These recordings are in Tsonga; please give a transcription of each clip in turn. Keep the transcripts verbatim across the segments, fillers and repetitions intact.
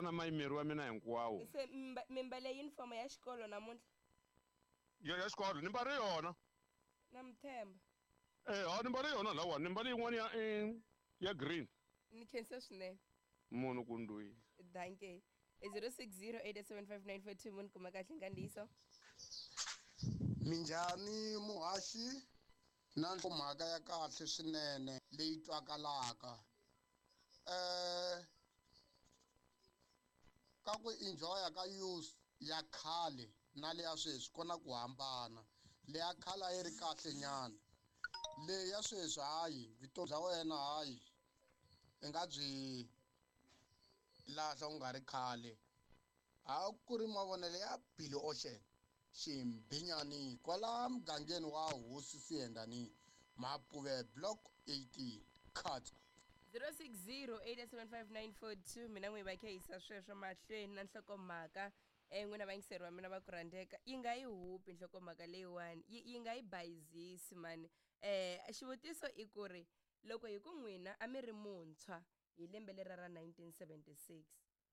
na mayimeri wa mina hinkwawo. Se mi mbale uniform ya xikolo namuntlha? Ya ya xikolo ni mbale yona. Na mi themba. Eh, ha ni mbale yona lawa, ni mbale yin'wana ya eh, ya green. Ni khensa swinene. Munhu ku ndwi. Dankie. zero six zero eight seven five nine four two munhu kuma kahle nkandziyiso. Minjhani muhaxi na mhaka ya kahle swinene leyi twakalaka. Eh ka ku enjoya ka youth ya khale na leya sweswi ku na ku hambana. Leya khale a yi ri kahle nyana. Leyi ya sweswi hayi vutomi bya wena hayi i nga byi lahla u nga ri khale. A ku ri mavonelo ya Billy Ocean Ximbinyani kwala mugangeni wa Hosi Siyendani Mapuve block eighteen cut. zero six zero eight seven five nine four two mina n'wi va khe yisa sweswo mahlweni na nhlokomhaka eh n'wina vayingiseri wa mina va ku rhandzeka yi nga yi hupi nhlokomhaka leyiwani yi yi nga yi bayizisi mani. Eh xivutiso i ku ri loko hi ku n'wina a mi ri muntshwa hi lembe lera ra nineteen seventy-six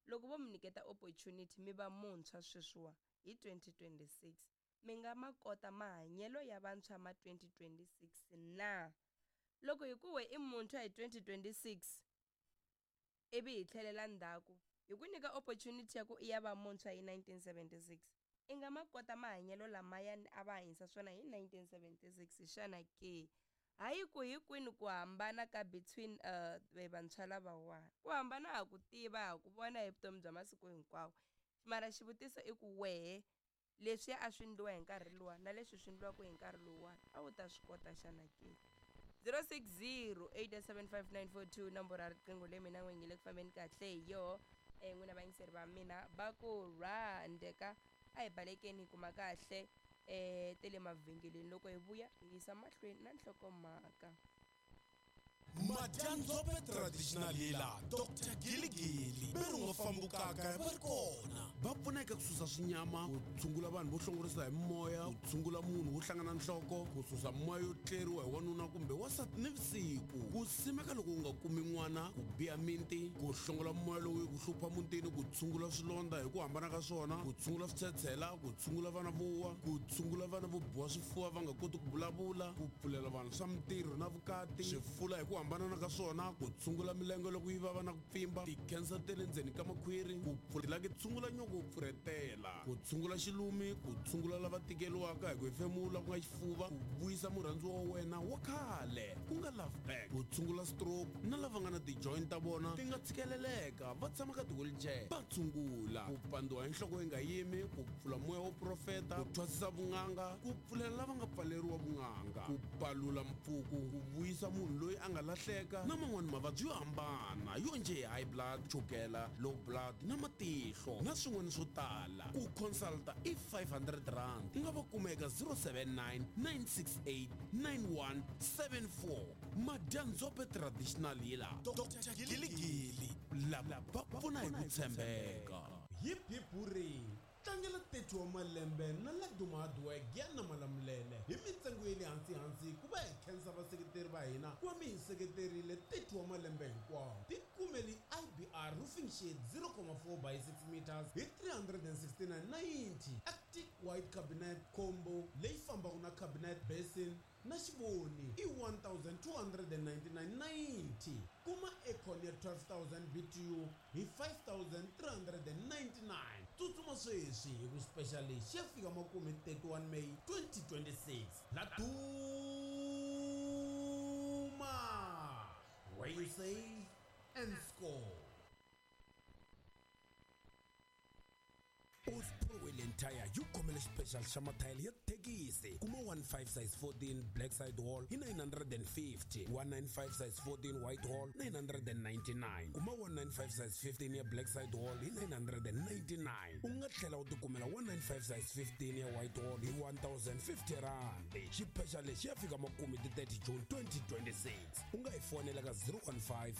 loko vo mi nyiketa opportunity mi va muntshwa sweswiwa hi twenty twenty-six mi nga ma kota mahanyelo ya vantshwa ma twenty twenty-six na? Loko hi ku we i muntshwa hi twenty twenty-six ivi hi tlhelela ndzhaku hi ku nyika opportunity ya ku i ya va muntshwa hi nineteen seventy-six i nga ma kota mahanyelo lamayani a va hanyisa swona hi nineteen seventy-six xana ke? Hayi ku hi kwini ku hambana ka between uh vantshwa lavawani? Ku hambana ha ku tiva ha ku vona hi vutomi bya masiku hinkwawo. Mara xivutiso i ku wehe leswi a swi endliwa hi nkarhi luwa na leswi swi endliwaka hi nkarhi luwani a wu ta swi kota xana ke? zero six zero eight seven five nine four two nomboro ya riqingho leyi mina n'wi nge le ku fambeni kahle hi yoho. Eh n'wina vayingiseri va mina va ku rhandzeka a hi balekeni hi kuma kahle eh tele mavhengeleni loko hi vuya hi yisa mahlweni na nhlokomhaka. Madyandzhope traditional healer Doctor Giligili ve ri nga fambukaka va ri kona va pfuneka ku susa swinyama ku tshungula vanhu vo hlongorisa hi moya ku tshungula munhu wo hlangana nhloko ku susa moya yo tleriwa hi wanuna kumbe wansati ni vusiku ku simeka loko u nga kumi n'wana ku biha minti ku hlongola moya lowu ku hlupha mutini ku tshungula swilondza hi ku hambana ka swona ku tshungula switshetshela ku tshungula vana vo wa ku tshungula vana vo biwa swifuva va nga koti ku vulavula ku pfulela vanhu swa mintirho na vukati swifula hi ku hambana ka swona ku tshungula milenge loko yi vava na ku pfimba ti-cancer ta le ndzeni ka makhwiri ku pfulela ku tshungula nyoko pfurhetela ku tshungula xilumi ku tshungula lava tikeriwaka hi ku hefemula ku nga xifuva ku vuyisa murhandziwa wa wena wa khale ku nga love back ku tshungula stroke na lava nga na ti-joint ta vona ti nga tshikeleleka va tshama ka ti-wheelchair va tshungula ku pandziwa hi nhloko yi nga yimi ku pfula moya wo profeta ku thwasisa vun'anga ku pfulela lava nga pfaleriwa vun'anga ku palula mpfuku ku vuyisa munhu loyi a nga lahleka na man'wani mavabyi yo hambana yo njhe high blood chukela low blood na matihlo na swin'wana swo tala ku consulta i five hundred rand u nga va kuma eka zero seven nine nine six eight nine one seven four Madyandzhope traditional healer Doctor Giligili lava va pfuna hi ku tshembeka. Hip hip hooray! Tlangela thirty wa malembe na Laduma Hardware Giyani na Malamulele hi mintsengo ya le hansi hansi ku va hi khensa vaseketeri va hina ku va mi hi seketerile thirty wa malembe hinkwawo. Tikumeli I B R roofing sheet zero point four by six meters hi three hundred and sixty-nine ninety Arctic white cabinet combo leyi fambaka na cabinet basin na xivoni i one thousand two hundred and ninety-nine ninety kuma aircon ya twelve thousand B T U hi five thousand three hundred and ninety-nine. Tsutsuma sweswi hi ku special lexi ya fika makume thirty-one May twenty twenty-six. Laduma where you save and score. Osprowell Tire yi khomele special xa mathayele ya thekisi kuma one five size fourteen black side wall hi nine hundred and fifty, one nine five size fourteen white wall nine hundred and ninety-nine, kuma one nine five size fifteen ya black side wall hi nine hundred and ninety-nine. U nga tlhela u tikumela one nine five size fifteen ya white wall hi one thousand fifty rand. Xiphexa lexi ya fika makume ti thirty June twenty twenty-six. U nga hi fonela ka zero one five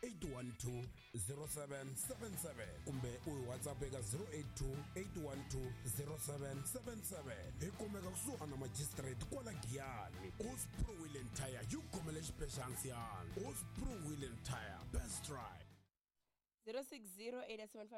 eight one two zero seven seven seven kumbe u hi WhatsApp eka zero eight two eight one two zero seven seven seven. Hi kumeka kusuhana na magistrate kwala Giyani. Osprey Wheel and Tire yi khomele xipexansiyani. Osprey Wheel and Tire, best ride. zero six zero eight seven five